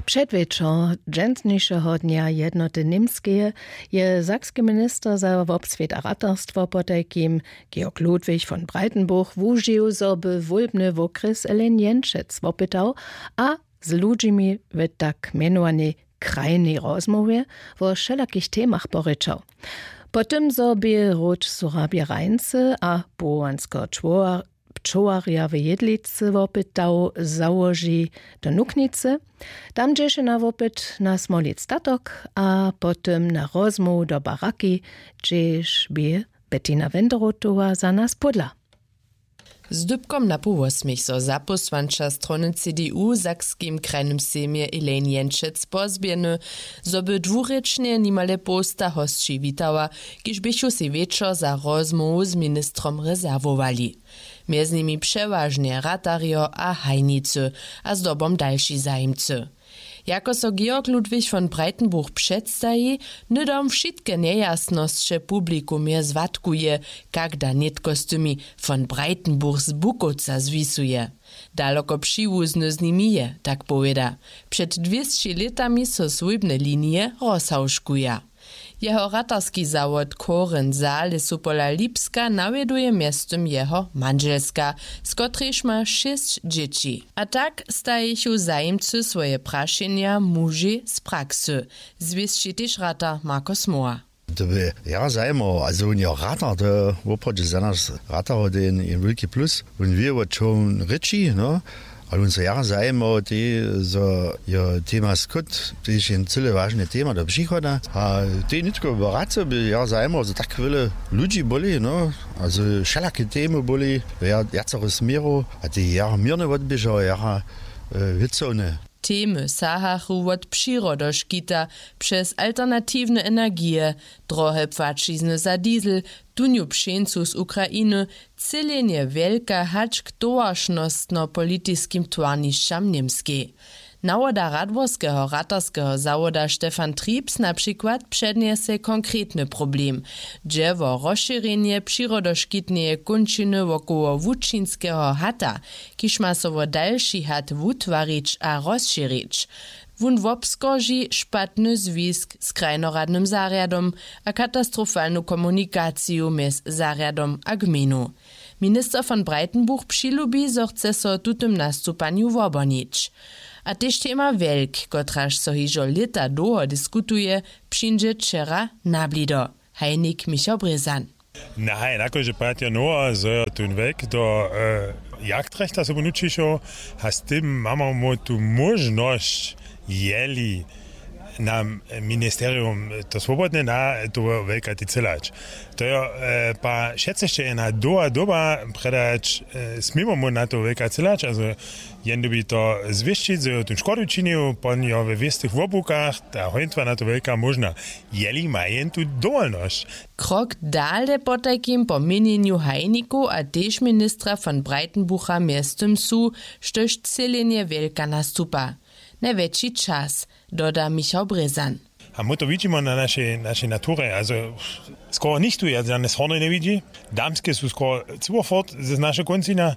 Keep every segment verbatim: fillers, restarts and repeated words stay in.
Předwječor dźensnišeho dnja jednoty němskeje je sakski minister za wobswět a ratarstwo potajkim, Georg Ludwig von Breitenburg, wužił, zo by wólbny wokrjes Elaine Jenčec wopytał a z ludźimi w tak mjenowanej krajnej rozmołwje wo wšelakich temach porěčał. Po tym, zo bě hróč Surabje Rajncy a powołanskeho pčołarja w Jedlicy wopytał, załoži do Nuknicy. Tam dźěše na wopyt na Smolic statok a po tym na rozmołwu do Baraki, hdźež bě Bettina Wenderotowa za nas pódla. Z dypkom na półwosmich so zapósłanča strony C D U w Sakskim krajnym sejmje Elaine Jenčec pozběhny, zo by dwurěčnje nimale połsta hosći witała, kiž běchu sej wječor za rozmołwu z ministrom rezerwowali. Mjez nimi přewažnje ratarjo a hajnicy a zdobom dalši zajimcy. Jako so Georg Ludwig von Breitenburg předstaji, hnydom wšitke njejasnosće publikumje zwatkuje, kak da nětko z tymi von Breitenburg z Bukowca zwisuje. Daloko přiwuzny z nimi je, tak powěda. Před dwěsći lětami so swójbne linije rozhałžkuja. Jeho ratarski zawod Koren Saale su pola Lipska nawjeduje mjeztym jeho mandźelska, z kotrejž ma šěsć dźěći. A tak stajichu zajimcy swoje prašenja mužej z praksy, zwěsći tež ratar Marko Smoła. To by ja zajmował, a zo wón jo ratar, to je woprawdźe za nas ratarow to je jen wulki plus. Wón wě wo čo wón rěči, no. Ale wón so jara zajimował tej, zo jo tema skót tež jen cyle wažne tema do přichoda a tej nětko baracy by jara zajimował zo tak wjele ludźi byli, no, a zo wšelake temy byli, wjacore směrow, a tej jara měrnje wotběžał jara wěcowne. Temy sahachu wot přirodoškita, přez alternatiwne energije, drohe płaćizny za diesel, tunju pšeńcu z Ukrainy, třělenje wjelka hač k towaršnostnopolitiskim twarnišćam w němskej. Nawoda radworskeho ratarskeho zawoda Stefan Triebs na přikład přednjese konkretny problem, dźe wo rozšěrjenje přirodoškitneje kónčiny wokoło łučinskeho hata, kiž ma so wo dalši hat wutwarić a rozšěrić. Wón wobskorži špatny zwisk z krajnoradnym zarjadom a katastrofalnu komunikaciju mjez zarjadom a gmejnu. Minister von Breitenburg přilubi, zo chce so w tutym nastupanju wobornić. A tež tema wjelk, kotraž so hižo lěta dołho diskutuje, přińdźe wčera na blido. Hajnik Michał Brězan. Nahaj nakože patja nowa zo jo tón wek do jagdrechta sobu nućišoł, a z tym mamy mu tu móžnosć, jeli nam ministerium to swobodne na, to weka decelać. To jo, pa wšetcy sće je na doła doba predać, směmo mu na to weka celać, also jen dybi to zwěsćić, zo jo tón škodu činił, pon jo we wěstych wobłukach, ta hojntwa na to weka móžna, jeli ma jen tu dowolnosć. Krok dale potajkim po měnjenju hajnikow a tež ministra von Breitenbucha mjeztym su, štož třělenje wjelka nastupa. Najwjetši čas, doda Michał Brězan. A my to widźimy na našej našej naturje, also skoro nichtó ja žane hornje njewidźi. Damske su skoro cyłofort z našeho kóncinja.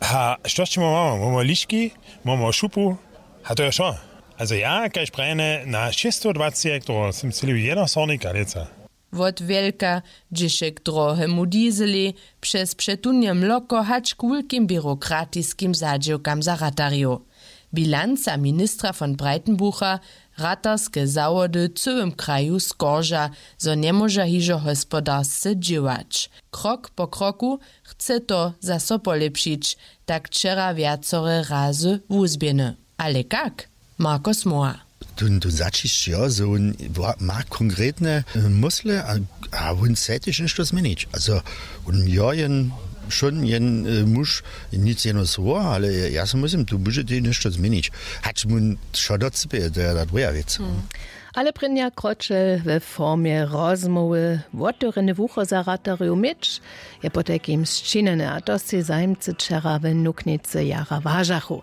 A što sće mamy mamy mamy liški, mamy šupu. A to je wšo. Also ja kaž prajene na šěsćstodwaceći hektorow sym cyle jeno hornika lětsa. Wot wjelka, dźěše k drohemu dieselej, přez přetunje mloko hač k wulkim běrokratiskim zadźěłkam za ratarjow. Bilanca ministra von Breitenbucha, ratarske zawody w cyłym kraju skorža, zo njemóža hižo hospodarsce dźěłać. Krok po kroku chce to zaso polěpšić, tak wčera wjacore razy wuzběhny. Ale kak? Marko Smoła. Tón tón zaćišć jo zo wón ma konkretne mysle a wón chce tež něšto změnić, also wón jo jen wšón jen muž, nic jeno słowo, ale ja so myslim tu budźetej něšto změnić, hač wón wšo docypje, to je ta druha wěc. Ale prěnja kročel we formje rozmołwy wotewrjene wucho za ratarjow měć, je potajkim sčinjene a to sej zajimcy wčera w nuknicy jara wažachu.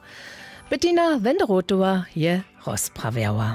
Bettina Wenderotowa je rozprawjała.